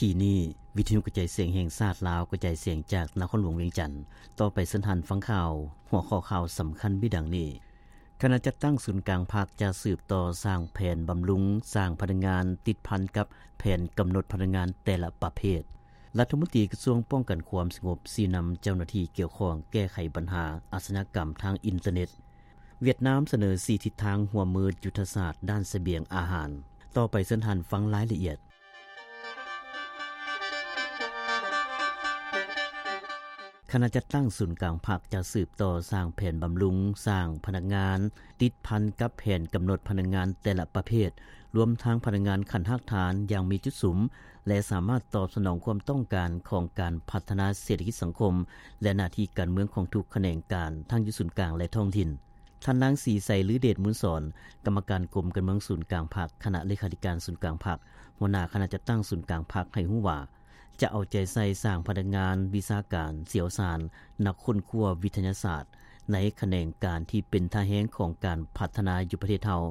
ກີ້ນີ້ ວິທະຍຸກະຈາຍສຽງແຫ່ງຊາດລາວ ກະຈາຍສຽງຈາກນະຄອນຫຼວງວຽງຈັນ. ຕໍ່ໄປເຊີນທ່ານຟັງຂ່າວ. ຫົວຂໍ້ຂ່າວສຳຄັນມີດັ່ງນີ້: ຄະນະຈັດຕັ້ງສູນກາງພັກຈະສືບຕໍ່ສ້າງແຜນບຳລຸງ, ສ້າງພະນັກງານ, ຕິດພັນກັບແຜນກຳນົດພະນັກງານແຕ່ລະປະເພດ. ລັດຖະມົນຕີກະຊວງປ້ອງກັນຄວາມສະຫງົບຊີ້ນຳເຈົ້າໜ້າທີ່ກ່ຽວຂ້ອງແກ້ໄຂບັນຫາອາຊະຍາກຳທາງອິນເຕີເນັດ. ຫວຽດນາມສະເໜີສີ່ທິດທາງຮ່ວມມືຍຸດທະສາດດ້ານສະບຽງອາຫານ. ຕໍ່ໄປເຊີນທ່ານຟັງລາຍລະອຽດ. ຄະນະຈັດຕັ້ງສູນກາງພັກຈະສືບຕໍ່ສ້າງແຜນບຳລຸງ, ສ້າງພະນັກງານ, ຕິດພັນກັບແຜນກຳນົດພະນັກງານແຕ່ລະປະເພດ, ລວມທັງພະນັກງານຂັ້ນຮາກຖານຢ່າງມີຈຸດສຸມ ແລະ ສາມາດຕອບສະໜອງຄວາມຕ້ອງການຂອງການພັດທະນາເສດຖະກິດສັງຄົມ ແລະ ໜ້າທີ່ການເມືອງຂອງທຸກຂະແໜງການ ທັງຢູ່ສູນກາງ ແລະ ທ້ອງຖິ່ນ. ທ່ານນາງ ສີໄຊ ລືເດດມູນສອນ ກຳມະການກົມການເມືອງສູນກາງພັກ, ຄະນະເລຂາທິການສູນກາງພັກ, ຫົວໜ້າຄະນະຈັດຕັ້ງສູນກາງພັກ ໃຫ້ຮູ້ວ່າ ຈະເອົາໃຈໃສ່ສ້າງພະນັກງານວິຊາການ, ຊ່ຽວຊານ, ນັກຄົ້ນຄວ້າວິທະຍາສາດ ໃນຂະແໜງການທີ່ເປັນທ່າແຮງຂອງການພັດທະນາຢູ່ປະເທດເຮົາ,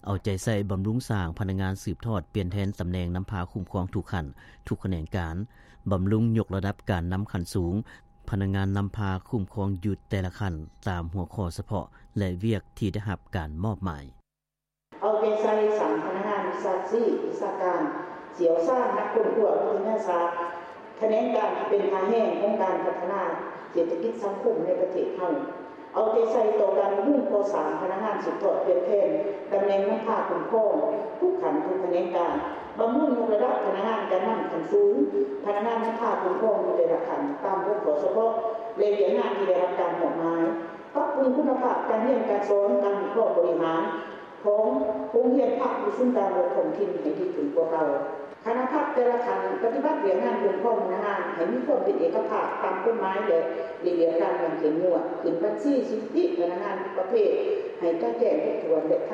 ເອົາໃຈໃສ່ບຳລຸງສ້າງພະນັກງານສືບທອດປ່ຽນແທນຕຳແໜ່ງນຳພາຄຸ້ມຄອງທຸກຂັ້ນ, ທຸກຂະແໜງການ, ບຳລຸງຍົກລະດັບການນຳຂັ້ນສູງ, ພະນັກງານນຳພາຄຸ້ມຄອງຢູ່ແຕ່ລະຂັ້ນ ຕາມຫົວຂໍ້ສະເພາະ ແລະ ວຽກທີ່ໄດ້ຮັບການມອບໝາຍ. ເອົາໃຈໃສ່ສ້າງພະນັກງານວິຊາຊີບ, ວິຊາການ, ຊ່ຽວຊານ, ນັກຄົ້ນຄວ້າວິທະຍາສາດ, ຂະແໜງການທີ່ເປັນທ່າແຮງຂອງການພັດທະນາເສດຖະກິດສັງຄົມໃນປະເທດເຮົາ. ເອົາໃຈໃສ່ຕໍ່ການບຳລຸງກໍ່ສ້າງພະນັກງານສືບທອດປ່ຽນແທນຕຳແໜ່ງນຳພາຄຸ້ມຄອງທຸກຂັ້ນທຸກຂະແໜງການ, ບຳລຸງຍົກລະດັບພະນັກງານການນຳຂັ້ນສູງ, ພະນັກງານນຳພາຄຸ້ມຄອງຢູ່ແຕ່ລະຂັ້ນຕາມຫົວຂໍ້ສະເພາະ ແລະ ວຽກງານທີ່ໄດ້ຮັບການມອບໝາຍ, ປັບປຸງຄຸນນະພາບການຮຽນການສອນ, ການວິເຄາະບໍລິຫານຂອງໂຮງຮຽນພັກຢູ່ສູນກາງ ແລະ ທ້ອງຖິ່ນໃຫ້ດີຂຶ້ນກວ່າເກົ່າ. ຄະນະພັກແຕ່ລະຂັ້ນປະຕິບັດວຽກງານຄຸ້ມຄອງພະນັກງານໃຫ້ມີຄວາມເປັນເອກະພາບຕາມກົດໝາຍ ແລະ ລະບຽບການຢ່າງເຂັ້ມງວດ, ຂຶ້ນບັນຊີສິດທິພະນັກງານທຸກປະເພດໃຫ້ຈະແຈ້ງຄົບຖ້ວນ ແລະ ທັນ